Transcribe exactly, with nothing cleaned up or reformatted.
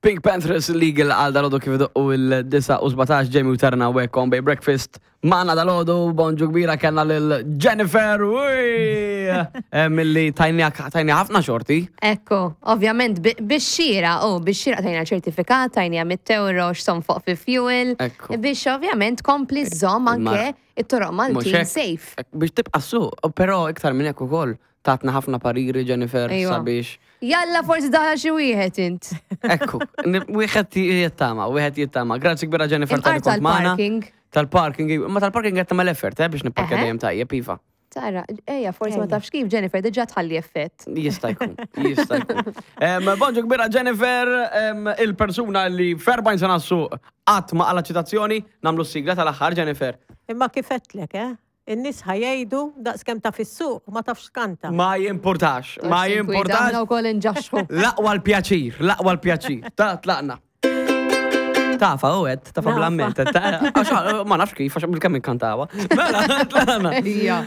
PinkPantheress, Legal għal dalgħodu kif idoqqu il-disgħa u sbatax. Jamie u Tarna u on Bay Breakfast. Magħna dalgħodu, bonġu kbira, kellna lil Jennifer, uy! Eh, Milli tajni tajni ħafna xorti. Ekku, ovvjament, bi- bix-xira, u bix-xira tajna ċertifikat, tajna mitt euro x'tonfoq fi fuel. Ekku. Biex ovvjament kompli żomm anke it-toroq Mhux Maltin hekk. safe. Ek, biex tibqa' suq, però iktar minn hekk ukoll tatna ħafna pariri Jennifer Ejwa. sabiex. Jalla, forsi daħla xi wieħed int. Ekku, ni- wieħed jittama, wieħed jittama. Grazzi kbira, Jennifer, Imqar tal kont magħna. tal-parking. Tal-parking, imma tal-parking qed tagħmel effort, eh, biex nipparkja Eħe. dejjem tajjeb, iva. Tara, ejja, forsi ma Ejja. tafx kif Jennifer diġà tħalli effett. Jista' jkun, jista' jkun. Em, Bonġu kbira, Jennifer, em, il-persuna li f'erbgħin sena suq qatt ma qala ċitazzjoni, nagħmlu s-sigla tal-aħħar, Jennifer. Imma kif għedtlek, eh? In-nies ħa jgħidu daqs kemm taf issuq u ma tafx tkanta. Ma jimpurtax, ma jimpurtax. Aħna wkoll inġaxxu. L-aqwa l-pjaċir, l-aqwa l-pjaċir. Ta' tlaqna. Tafa, u għed, tafa Nafa. bl-amment. Għax, ma nafx kif, għax bil-kemm inkantawa. Mela, tlaqna. Ejja.